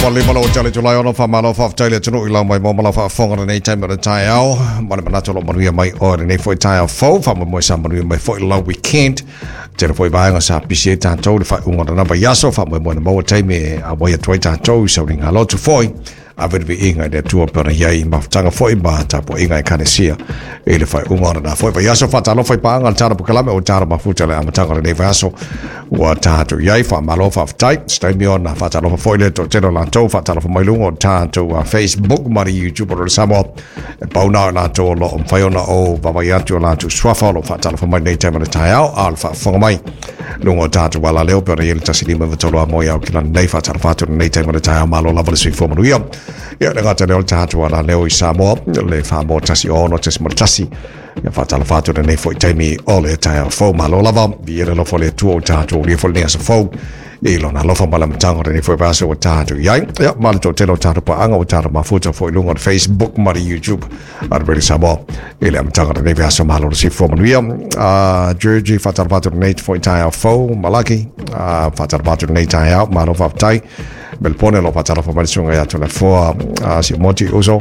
Ua lima lau tale Julai 6, faamalo faafetai i le atunuu i lau mai mo ma lau faafofoga lenei taimi o le taeao. Ma le manatu o lo o manuia mai oe lenei foi taeao fou, faamoemoe sa manuia mai foi lau weekend. Tele foi vaega sa pisi ai tatou i le faaiuga o lena vaiaso, faamoemoe na maua taimi e auai atu ai tatou i sauliga lotu foi. Ave le viiga i le Atua pe ona i ai mafutaga foi ma tapuaiga Ekalesia i le faaiuga o lena foi vaiaso. Faatalofa i paaga le tala pokalame o tala mafuta le amataga o lenei vaiaso ua tatou i ai. Faamalo faafetai. Se taimi ona faatalofa foi le toatele o latou faatalofa mai luga o tatou Facebook ma le YouTube o le Samoa. E pau na o latou o lo o mafai ona ou vaavaai atu o latou suafa o lo o faatalofa mai nei taimi o le taeao, a o le faafofoga mai luga o tatou alaleo pe ona i ai le 153 a moe au ki lana nei faatalofa atu lenei taimi o le taeao. Malo lava le soifua manuia. Ia le gata lea o le tatou alaleo i Samoa, le whamoa 16.1. Ia faatalofa atu lenei foi taimi o le taeao fou. Malo lava, vi le alofa o le Atua o tatou ulia foi lenei aso fou. I lona alofa ma le amataga o lenei foi vaiaso ua tatou i ai. Ia, ma le toatele o tatou paaga ua tatou mafuta foi i luga o le Facebook ma le YouTube a le Radio Samoa i le amataga o lenei vaiaso. Malo le soifua manuia. Georgie, faatalofa atu lenei foi taeao fou. Malaki, faatalofa atu lenei taeao. Malo faafetai. Melpone lo faatalofa mai le susuga ia Toleafoa Siumotu Uso.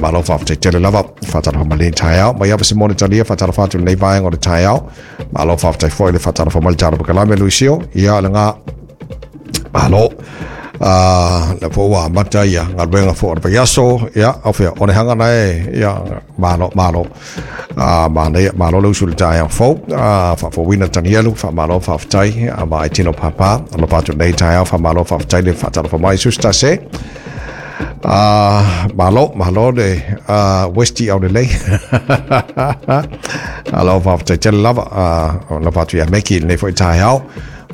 Malo faafetai tele lava. Faatalofa mai lenei taeao. Mai ava Simone Talia, faatalofa atu lenei vaega o le taeao. Malo faafetai foi le faatalofa mai le tala pakalame Luisio. Ia le ngā. Malo. Le fo ua amata ia galuega fo o le vaiaso. Ia, au fea, o le hanga na e. Ia, malo, malo. Manaia, malo le usu le taeao fou. Faafouina Tanielu, faamalo faafetai. Ma ai tino pāpā. Alofa atu nei taeao, faamalo faafetai le faatalofa mai. Susta se. Malo, malo le Westy au lelei. Alo faafetai tele lava. Alofa atu ia Meki lenei foi taeao.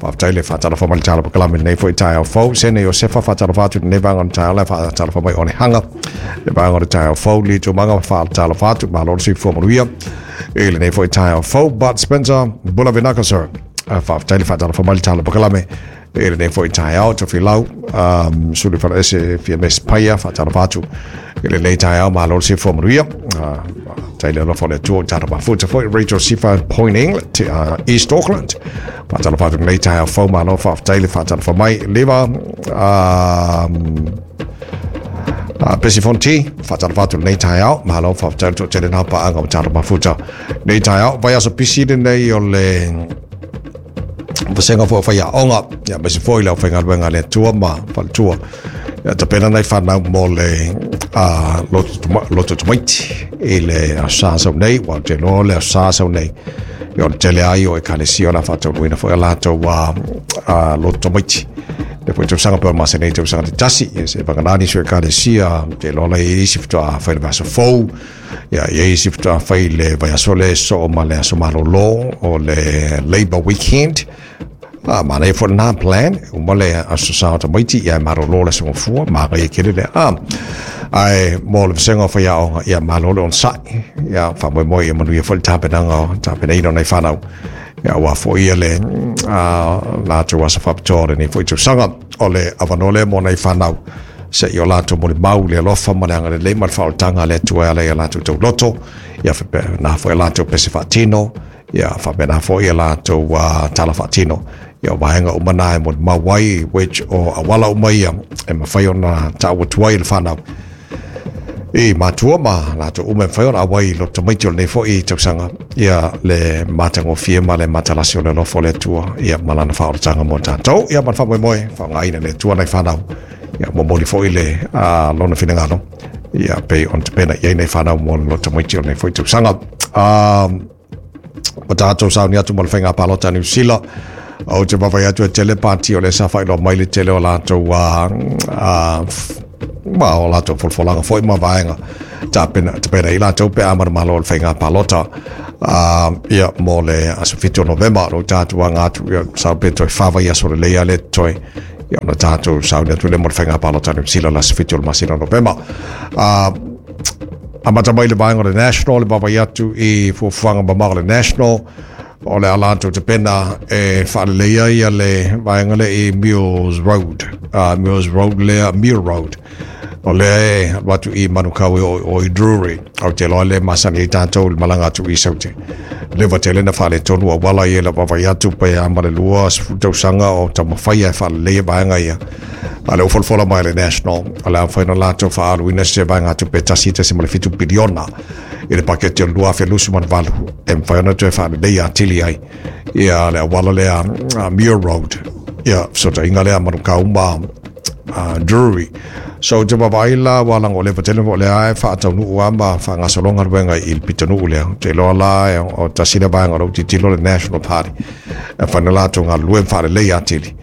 Faafetai le faatalofa mai le tala pakalame lenei foi taeao fou. Sene Iosefa faatalofa atu lenei vaega o le taeao le faatalofa mai o le hanga. Le vaega o le taeao fou li tūmanga faatalofa atu. Malo le soifua manuia i lenei foi taeao fou. Bud Spencer, bula vinaka sir. Faafetai le faatalofa mai le tala pakalame i lenei foi taeao. Tofilau, Sulu Falaese fia mes paia faatalofa atu i lenei taeao. Malo le soifua manuia. Tai le alofa o le Atua o tatou mafuta foi. Rachel Sifa Point England, East Auckland. Faatalofa atu lenei taeao fou. Malo faafetai le faatalofa mai. Leva Pesi Fonti, faatalofa atu lenei taeao. Malo faafetai le toatele nā paaga o tatou mafuta. Nei taeao, vaiaso pisi lenei o le vasega foi o faiaoga, ia aemaise foi le aufaigaluega a le Atua ma faletua. Ia tapena nai fanau mo le loto tamaiti i le aso Sa sau nei, ua ou te iloa o le aso Sa sau nei. Ia o le tele ai o ekalesia o le a faataunuuina foi a latou loto tamaiti. Le foi tausaga pe o le masina nei tausaga te tasi, ia se vagana nisi o ekalesia, te iloa la i ai isi faatoa fai le vaiaso fou, ia i ai isi faatoa fai le vaiaso le soo ma le aso malolo o le Labor Weekend. Manaia foi lena plan, uma le aso Sa o tamaiti, ia e malolo le aso Gafua, manaia tele lea. Ae mo le vasega o faiaoga, ia malo le onosai, ia faamoemoe ia manuia foi le tapenaga o tapenaina o nai fanau. Ia aua foi ia le latou aso faapitoa o lenei foi tausaga. O le avanoa lea mo nai fanau se i o latou molimau le alofa ma le agalelei ma le faaolataga a le Atua e ala i a latou tauloto, ia faapena foi a latou pese faatino, ia faapena foi a latou tala faatino. Ia o vaega uma na e molimau ai, which o auala uma ia e mafai ona taua atu ai le fanau i matua ma latou uma e mafai ona auai i loto tamaiti o lenei foi tausaga, ia le matagofie ma le matalasi o le alofa o le Atua, ia ma lana faaolataga mo tatou, ia ma le faamoemoe faaaogaina le Atua nai fanau, ia momoli foi le lona finagalo, ia pei ona tapena i ai nai fanau mo le loto tamaiti o lenei foi tausaga. O tatou sauni atu mo le faiga palota a Niu Sila, ou te vaavaai atu e tele pati o lea sa faailoa mai le tele o latou ma o latou folafolaga foi ma vaega tapena tapena i latou pe a manumalo o le faiga palota ia mo le aso 7 o Novema. O tatou aga atu ia sa pe toe fa vaiaso lelei a le toe ia ona tatou sauni atu le mo le faiga palota a Niu Sila le aso 7 o le masina o Novema. Amata mai le vaega o le National, le vaavaai atu i fuafuaga mamao o le National, o le a latou tapena e faaleleia ia le vaega lea i Muirs Road, Muirs Road lea, Muir Road. O lea e alu atu i Manukau e o i Drury. Ou te iloa lea e masani ai tatou i le malaga atu i Saute. Leva tele na faaletonu auala ia i lau vaavaai atu pe a ma le 20 tausaga o taumafai e faaleleia vaega ia. A o lea ua folafola mai le National, o le a mafai ona latou faaaluina se vaegatupe 1.7 piliona i le paketi o le 2028 e mafai ona toe faaleleia atili ai ia le auala lea Muir Road, ia fesootaiga lea Manukau ma Drury. So te vaavaai la ua lago leva tele o lea e faataunuu lava ma faagasolo galuega i le pitonuu lea. Ou te iloa la o tasi lea vaega o lou tilotilo le National Party e mafai ona latou galulue ma faaleleia atili.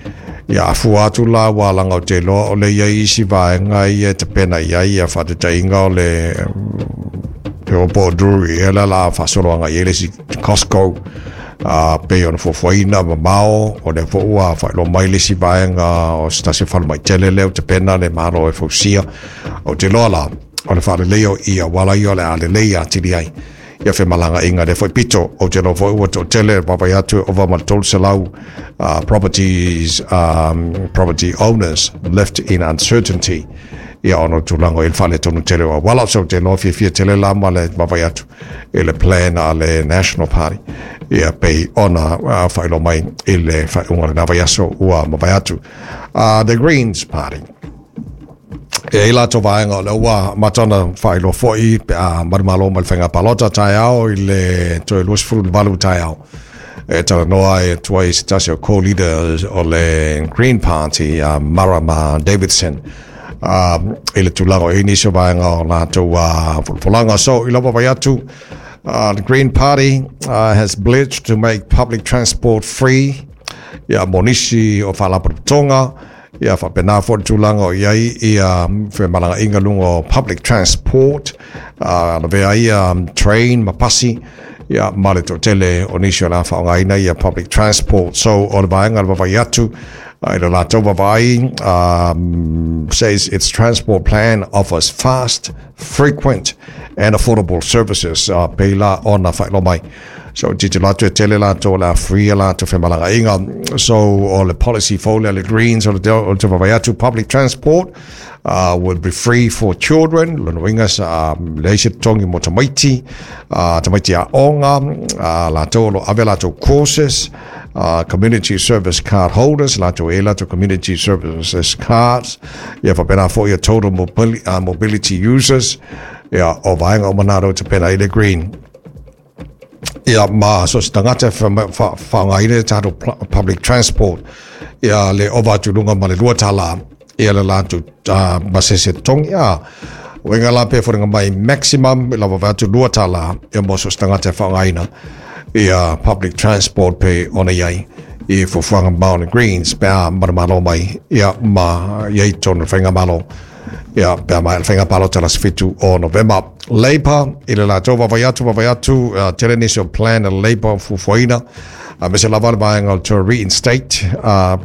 Ia a fua atu la ua laga ou te iloa o lea e i ai isi vaega ia e tapena i ai ia faataitaiga o le te iloa po o Drury ea lea o le a faasolo agai i ai le isi Costco a pei ona fuafuaina mamao, o lea foi ua faailoa mai le isi vaega o se tasi o falemai tele lea ua tapena le Malo e fausia. Ou te iloa la, o le faaleleia o i auala ia o le a lelei atili ai ia femalagaaiga i lea foi pito. Ou te iloa foi ua toatele vaavaai atu e ova ma le 300 properties, property owners left in uncertainty ia ona o le tulaga o i ai le faaletonu tele o auala. So ou te iloa fiafia tele la ma le vaavaai atu i le plan a le National Party ia pei ona faailoa mai i le faaiuga o lena vaiaso ua mavae atu. The Greens Party. E ai latou vaega o lea ua amata ona faailoa foi pe a manumalo mai le faiga palota taeao i le toe 28 taeao. E talanoa ai atu ai se tasi o co-leaders o le Green Party, a Marama Davidson, i le tulaga o i ai nisi o vaega o latou folafolaga. So, i lau vaavaai atu, the Green Party has pledged to make public transport free ia mo nisi o faalapotopotoga, ia faapena foi le tulaga o i ai ia femalagaaiga luga o public transport, lavea ai ia train ma pasi, ia ma le toatele o nisi o le a faaaogaina ia public transport. So, o le vaega le vaavaai atu, i le latou vaavaai, says its transport plan offers fast, frequent and affordable services, pei la ona faailoa mai. So, tilotilo atu e tele latou o le a free a latou femalagaaiga. So, o le policy fou lea a le Greens o le te vaavaai atu, public transport will be free for children, lona uiga sa leai se totogi mo tamaiti, tamaiti aoga, latou o lo o ave latou courses, community service card holders, latou e latou community services cards, ia faapena foi ia total mobility users, ia o vaega uma na rau tapena ai le Green. Ia ma so se tagata e faaaogaina le tatou public transport, ia le ova atu i luga ma le $2 ia le latou pasese totogi. A uiga la pe foliga mai maximum i lau vaavaai atu $2 ia mo so se tagata e faaaogaina ia public transport pe ona i ai i fuafuaga mamao a le Greens pe a manumalo mai ia ma i ai tonu le faigamalo ia pe a maea le faiga palota le aso 7 o Novema. Labour i le latou vaavaai atu vaavaai atu, tele nisi o plan a le Labour fuafuaina, aemaise lava le vaega o le to reinstate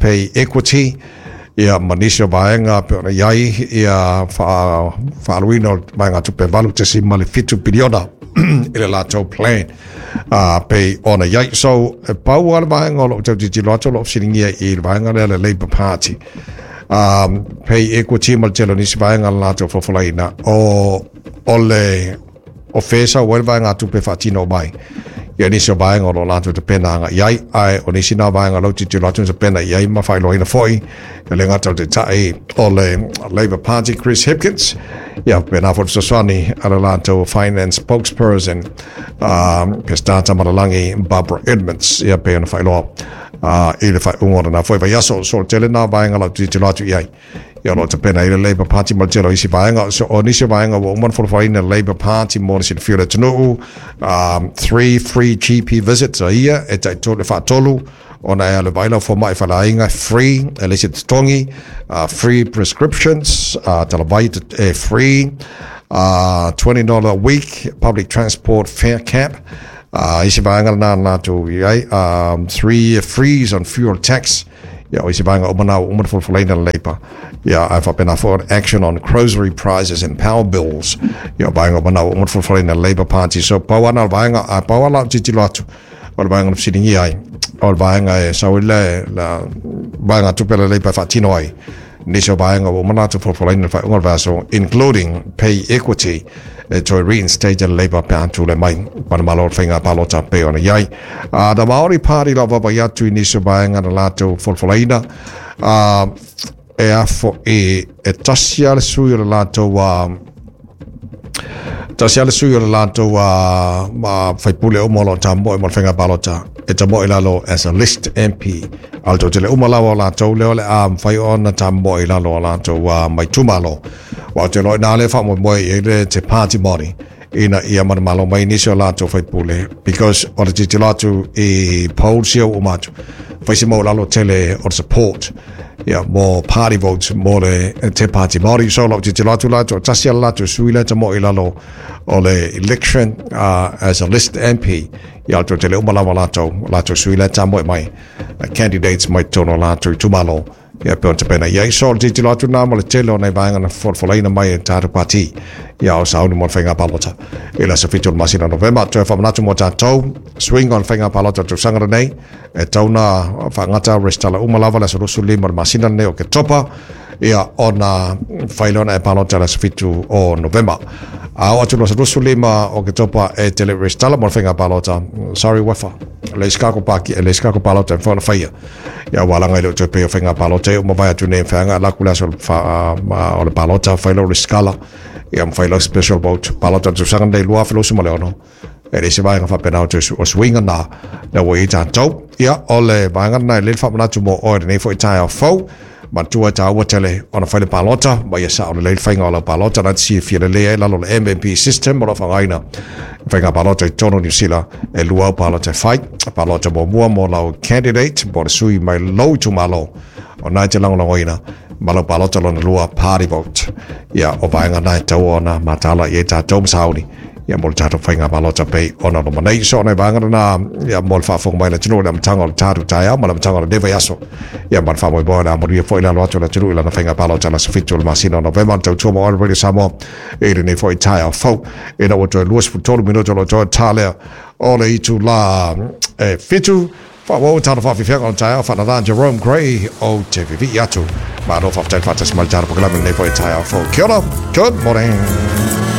pay equity ia ma nisi o vaega pe ona i ai ia faaaluina o vaegatupe 8.7 piliona i le latou plan pei ona i ai. So, e pau lava le vaega o lo o tau tilotilo atu o lo o fesiligia i le vaega lea le Labour Party. Pay equity ma le tele o nisi vaega le latou folafolaina o le o fea e sau ai le vaegatupe e faatino mai ia nisi o vaega o lo o latou tapena agai i ai, ae o nisi na vaega o lo o tilotilo atu na tapena i ai ma faailoaina foi e le gata o le Taitai o le Labour Party Chris Hipkins, ia faapena foi le fesoasoani a le latou finance spokesperson Peseta Tamalelagi Barbara Edmonds, ia pei ona faailoa i le faaiuga o lena foi vaiaso. So tele nā vaega lau tilotilo atu i ai. Ia o lo o tapena ai le Labour Party ma le tele o isi vaega. So o nisi o vaega ua uma ona folafolaina le Labour Party mo le silafia o le atunuu, 3 free GP visits a ia e tai tolu, e faatolu ona e alu e vaai lau fomai faleaiga free, e leai se totogi, free prescriptions, talavai e free, $20 a week public transport fare cap, isi vaega lena na latou i ai, 3 year freeze on fuel tax, ia o isi vaega uma na ua uma ona folafolaina le Labour, ia ae faapena foi on action on grocery prices and power bills, ia o vaega uma na ua uma ona folafolaina le Labour Party. So pau lava na o le vaega, ae pau lava lau tilotilo atu o le vaega na fesiligia ai, o le vaega e sau ai le vaegatupe a le Labour e faatino ai. Nisi o vaega ua uma ona latou folafolaina i le faaiuga o le vaiaso, including pay equity, e toe reinstate e le Labour pe a tulai mai ma le Malo o le faiga palota pei ona i ai. The Maori Party lau vaavaai atu i nisi o vaega na latou folafolaina, e a fo'i e tasi lava le sui o le latou tasi lava le sui o le latou faipule uma o lo o tamoe mo le faiga palota e tamoe i lalo as a list MP. A o le toatele uma lava o latou lea o le a mafai ona tamoe i lalo o latou mai itumalo. Aua ou te iloa i ina lea e faamoemoe i ai le Te Pāti Māori ina ia manumalo mai nisi o latou faipule because o le tilotilo atu i polls ia ua uma atu, fai se maualalo tele o le support ia mo party votes mo le Te Pāti Māori. So lau tilotilo atu la, toatasi lava le latou sui lea e tamoe i lalo o le election as a list MP. Ia o le toatele uma lava o latou, latou sui lea e tamoe mai candidates mai totonu o latou itumalo. Ia pei ona tapena i ai. So o le tilotilo atu lena mo le tele o nai vaega na folafolaina mai e le tatou pati. Ia o sauni mo le faiga palota i le aso 7 o le masina o Novema. Toe faamanatu mo tatou, suiga o le faiga palota o le tausaga lenei, e tatau ona faagata resitala uma lava le aso 25 o le masina lenei o Oketopa, ia ona fai lea ona e palota i le aso 7 o Novema. A oo atu i le aso 25 o Oketopa e te le resitala mo le faiga palota, sorry Wefa, le isi kako paki, le isi kako palota e mafai ona faia. Ia ua laga i le o toe pei o faiga palota ia ua mavae atu nei e mafai ona alu atu le aso o le palota fai lau resitala ia ma fai lau special vote palota o le tausaga lenei 2026 e leai se vaega faapena o toe o suiga na na ua i ai tatou. Ia o le vaega lena e lelei le faamanatu mo oe i lenei foi taeao fou. Manatua e taua tele ona fai le palota ma ia sao lelei le faiga o lau palota na te silafia lelei ai lalo o le MMP system o lo o faaaogaina i faiga palota i totonu o Niu Sila e lua au palota e fai. Palota muamua mo lau candidate po o le sui mai lou itumalo o na e te lagolagoina ma lau palota lona lua party vote. Ia o vaega na e tatau ona mataala i ai tatou ma sauni ia mo le tatou faiga palota pei ona loma nei. So nai vaega lena ia mo le faafofoga mai a le atunuu i le amataga o le tatou taeao ma le amataga o lenei vaiaso. Ia ma le faamoemoe o le a manuia foi le alo atu o le atunuu i lana faiga palota i le aso 7 o le masina o Novema. Le tautua mo All Radio Samoa i lenei foi taeao fou. Ina ua toe 23 minute o lo o toe ta lea o le itula e 7. Faaauau tala faafiafiaga o le taeao faanana Jerome Gray o te vivii atu. Malo faafetai le faatasi mai le tatou polokalame i lenei foi taeao fou. Kia ora, good morning.